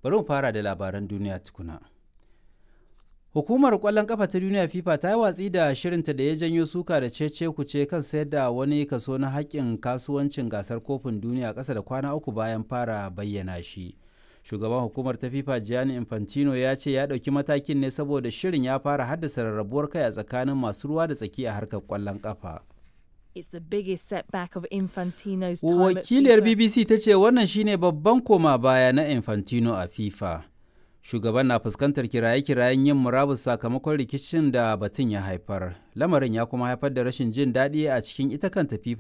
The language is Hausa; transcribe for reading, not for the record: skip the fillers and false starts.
Bari mu fara da labaran duniya tukuna. Hukumar kwallon kafa ta duniya FIFA ta yi watsi da shirinta da ya janyo suka da cece kuce kan sayar da wani kaso na haƙƙin kasuwancin gasar kofin duniya ƙasa da kwana 3 bayan fara bayyana shi. Shugaban hukumar ta FIFA Gianni Infantino ya ce ya ɗauki matakin ne saboda shirin ya fara haddasa rarrabuwar kai a tsakanin masu ruwa da tsaki a harkar kwallon kafa. It's the biggest setback of Infantino's time at Wakiliyar FIFA. BBC ta ce wannan shine babban koma baya na Infantino a FIFA. Shugaban na fuskantar kiraye-kirayen yin murabus sakamakon rikicin da batun ya haifar. Lamarin ya kuma haifar da rashin jin daɗi a cikin ita kanta FIFA.